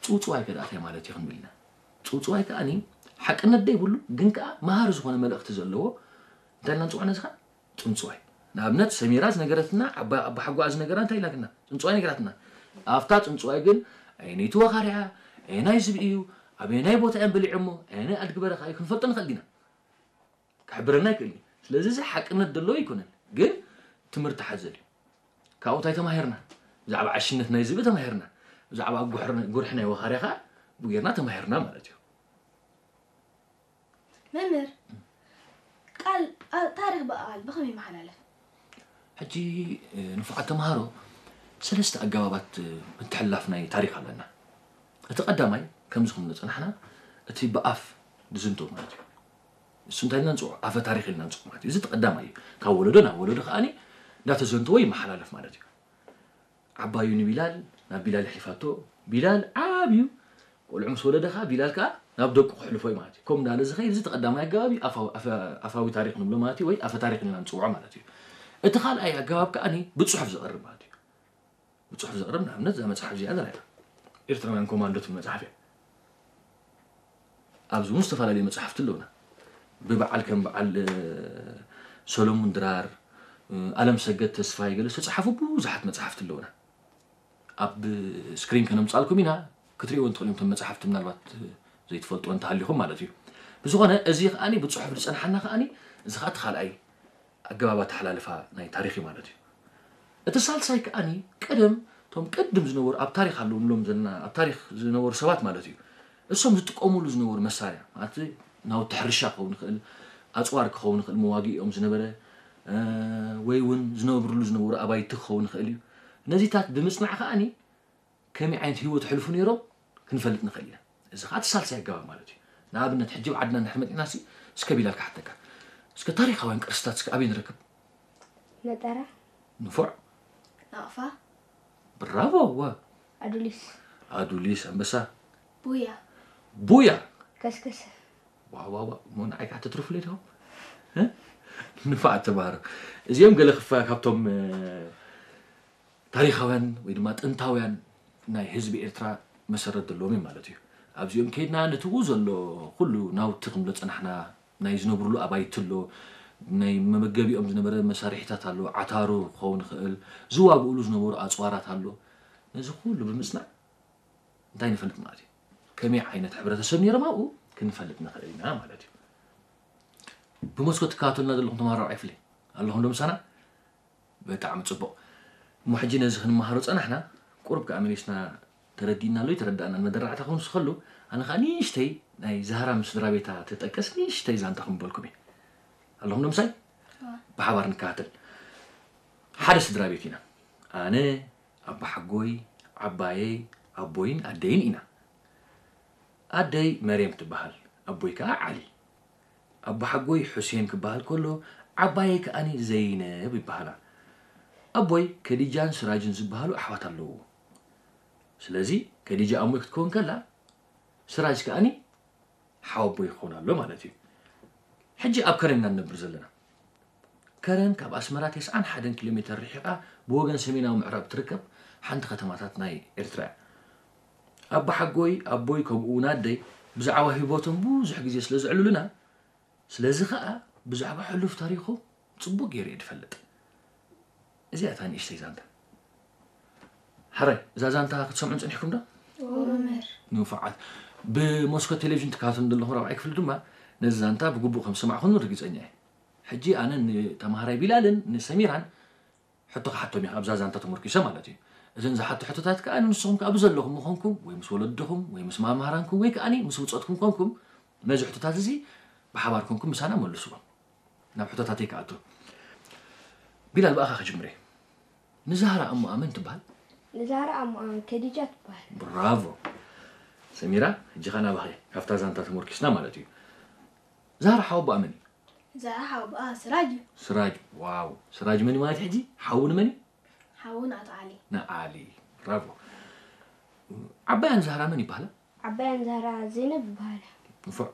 ጽውጽዋይ ከ ደኣ እንታይ ማለት እዩ ክንብል ኢና። ጽውጽዋይ ከኣኒ ሓቅነት ዘይብሉ ግን ከኣ መሃሪ ዝኾነ መልእኽቲ ዘለዎ እንታይ ኢልና ንጽውዖ ነዚ ኸኣ? ጽውጽዋይ። ንኣብነት ሰሚራ ዝነገረትና፣ ዓባ ኣቦሓጎኣ ዝነገራ እንታይ ኢላትና? ጽንጽዋይ ነግራትና። ኣብታ ጽንጽዋይ ግን ኣየነይቲ ወኻርያ፣ ኣየናይ ዝብኢ እዩ፣ ኣበየናይ ቦታ እዮም በሊዖሞ፣ ኣየናይ ኣድጊ በረኻ እዩ ክንፈልጦ ንኽእል ዲና? ክሕብረና ኣይክእልን እዩ። ስለዚ እዚ ሓቅነት ዘለዎ ኣይኮነን፣ ግን ትምህርቲ ሓዘል እዩ። ካብኡ እንታይ ተማሂርና? ብዛዕባ ዓሽነት ናይ ዝብኢ ተማሂርና። ብዛዕባ ጉሕር- ጉርሒ ናይ ወኻርያ ኸኣ ብጌርና ተማሂርና ማለት እዩ። መምህር ቃል ኣ- ታሪኽ ብቃል ብኸመይ ይመሓላለፍ? ሕጂ ንፉዓት ተምሃሮ ሰለስተ ኣገባባት ምትሕልላፍ ናይ ታሪኽ ኣለና። እቲ ቀዳማይ ከምዚ ከም ዝጸናሕና እቲ ብኣፍ ዝዝንቶ ማለት እዩ። እሱ እንታይ ኢልና ንጽውዖ? ኣፈ ታሪኽ ኢልና ንጽውዖ ማለት እዩ። እዚ እቲ ቀዳማይ እዩ። ካብ ወለዶ ናብ ወለዶ ከኣኒ እንዳተዘንተወ ይመሓላለፍ ማለት እዩ። ዓባዩ ንቢላል ናብ ቢላል የሕሊፋቶ። ቢላል ዓብዩ ቆልዑ ምስ ወለደ ከዓ ቢላል ከዓ ናብ ደቁ ክሕልፎ እዩ ማለት እዩ። ከምኡ እንዳለ ዝኸይድ እዚ ተቐዳማይ ኣገባብ እዩ ኣፋዊ- ኣፈ- ኣፋዊ ታሪኽ ንብሎ ማለት እዩ፣ ወይ ኣፈ ታሪኽ ኢልና ንፅውዖ ማለት እዩ። እቲ ካልኣይ ኣገባብ ከዓ ብፅሑፍ ዝቐርብ ማለት እዩ። ብፅሑፍ ዝቐርብ ንኣብነት እዛ መፅሓፍ እዚኣ ንሪኣ ኤርትራውያን ኮማንዶ ትብል መፅሓፍ እያ። ኣብዚ እውን ዝተፈላለዩ መፅሓፍቲ ኣለውና። ብበዓል ከም በዓል ሰሎሙን ድራር፣ ኣለምሰገድ ተስፋይ ገለ ዝተፅሓፉ ብዙሓት መፅሓፍቲ ኣለውና። ኣብ ስክሪን ከነምፃልኩም ኢና ክትሪእዎ እንትኽእሉ እዮም። እቶም መፅሓፍቲ ምናልባት ዘይትፈልጥዎ እንተሃሊኹም ማለት እዩ። ብዝኾነ እዚ ከዓኒ ብፅሑፍ ዝፀንሓና ከዓኒ እዚ ከዓ እቲ ካልኣይ ኣገባብ ኣተሓላልፋ ናይ ታሪኽ እዩ ማለት እዩ። እቲ ሳልሳይ ከዓኒ ቀደም እቶም ቅድም ዝነበሩ ኣብ ታሪኽ ኣለዉ ንብሎም ዘለና ኣብ ታሪኽ ዝነበሩ ሰባት ማለት እዩ እሶም ዝጥቀሙሉ ዝነበሩ መሳርያ ማለት ናውቲ ሕርሻ ክኸውን ይኽእል፣ ኣፅዋር ክኸውን ይኽእል፣ መዋግኢኦም ዝነበረ ወይ እውን ዝነብርሉ ዝነበሩ ኣባይቲ ክኸውን ይኽእል እዩ። ነዚታት ብምፅናዕ ከዓኒ ከመይ ዓይነት ህይወት ይሕልፉ ነይሮም ክንፈልጥ ንኽእል ኢና። እዚ ከዓ እቲ ሳልሳይ ኣገባብ ማለት እዩ። ንኣብነት ሕጂ ኣብ ዓድና እንድሕር መፂእና ሲ እስከ ቢላል ክሓተካ እስከ ታሪኻውያን ቅርስታት እስከ ኣበይ ንረክብ? መጠራ ንፉዕ ናቕፋ ብራቮ ወ ኣዱሊስ ኣዱሊስ ኣንበሳ ቡያ ቡያ ከስከሰ ዋዋዋ እሞ ንዓይ ከዓ ተትርፉለይ ዲኹም ንፋዕ ተባህረ እዚኦም ገለ ክፋ ካብቶም ታሪኻውያን ወይ ድማ ጥንታውያን ናይ ህዝቢ ኤርትራ መሰረት ዘለዎም እዮም ማለት እዩ ኣብዚኦም ከይድና ነትኡ ዘሎ ኩሉ ናውቲ ክንብሎ ፀናሕና ናይ ዝነብርሉ ኣባይቲ ኣሎ ናይ መመገቢኦም ዝነበረ መሳርሒታት ኣሎ ዓታሩ ክኸውን ይኽእል ዝዋግእሉ ዝነበሩ ኣፅዋራት ኣሎ ነዚ ኩሉ ብምፅናዕ እንታይ ንፈልጥ ማለት እዩ ከመይ ዓይነት ሕብረተሰብ ነይሮም ኣብኡ ክንፈልጥ ንኽእል ኢና ማለት እዩ ብመስኮት ትከታተሉና ዘለኹም ተምሃሮ ራብዓይ ክፍሊ ኣለኹም ዶ ምሳና ብጣዕሚ ፅቡቕ እሞ ሕጂ ነዚ ክንመሃሮ ፀናሕና ቁሩብ ከዓ መሊስና ተረዲእናሉ ይተረዳእና መደራዕታ ክውንስ ከሉ ኣነ ከዓ ንእሽተይ ናይ ዛህራ ምስ ስድራ ቤታ ትጠቅስ ንእሽተይ ዛንታ ክምበልኩም እየ ኣለኹም ዶ ምሳይ ብሓባር ንከታተል ሓደ ስድራ ቤት ኢና ኣነ ኣባሓጎይ ዓባየይ ኣቦይን ኣደይን ኢና ኣደይ መርየም ትበሃል ኣቦይ ከዓ ዓሊ ኣባሓጎይ ሑሴን ክበሃል ከሎ ዓባየይ ከኣኒ ዘይነብ ይበሃላ ኣቦይ ከዲጃን ስራጅን ዝበሃሉ ኣሕዋት ኣለዎ ስለዚ ከዲጃ ኣሞይ ክትከውን ከላ ስራጅ ከኣኒ ሓወቦይ ክኸውን ኣሎ ማለት እዩ ሕጂ ኣብ ከረን ኢና ንነብር ዘለና ከረን ካብ ኣስመራ ተስዓን ሓደን ኪሎ ሜተር ርሒቓ ብወገን ሰሜናዊ ምዕራብ ትርከብ ሓንቲ ከተማታት ናይ ኤርትራ እያ ኣቦሓጎይ ኣቦይ ከምኡ እውን ኣደይ ብዛዕባ ህይወቶም ብዙሕ ግዜ ስለ ዘዕልሉና ስለዚ ከዓ ብዛዕባ ሕሉፍ ታሪኾም ፅቡቅ ገይረ እየ ዝፈልጥ እዚኣ እታ ንእሽተይ ዛንታ ሓራይ እዛ ዛንታ ክትሰምዑን ፅኒሕኩም ዶ ንፉዓት ብመስኮት ቴሌቪዥን ትከታተሉ ዘለኹም ራብዓይ ክፍሊ ድማ ነዚ ዛንታ ብግቡእ ከም ዝሰማዕኹም ርግፀኛ እየ ሕጂ ኣነ ንተምሃራይ ቢላልን ንሰሚራን ሕቶ ክሓቶም እየ ኣብዛ ዛንታ ተመርኪሰ ማለት እዩ እዘን ዝሓቶ ሕቶታት ከዓ ንስኹም ከዓ ብዘለኹም ምኾንኩም ወይ ምስ ወለድኹም ወይ ምስ መምሃራንኩም ወይ ከዓ ምስ ብፆትኩም ኮንኩም ነዚ ሕቶታት እዚ ብሓባር ኮንኩም ምሳና መልስዎም ናብ ሕቶታተይ ክኣቱ ቢላል ብኣኻ ክጅምር እየ ንዛህራ ኣሞኣ መን ትበሃል ንዛህራ ኣሞኣ ከዲጃ ትበሃል ብራቮ ሰሚራ ሕጂ ኸ ናባኸ ካብታ ዛንታ ተመርኪስና ማለት እዩ ዛህራ ሓወቦኣ መን እዩ ዛህራ ሓወቦኣ ስራጅ እዩ ስራጅ ዋው ስራጅ መን ማለት ሕጂ ሓው ንመን እዩ ሓውን ኣቶ ዓሊ ንዓሊ ብራቮ ዓባያን ዛህራ መን ይበሃላ ዓባያን ዛህራ ዘይነብ ይበሃላ ንፉዕ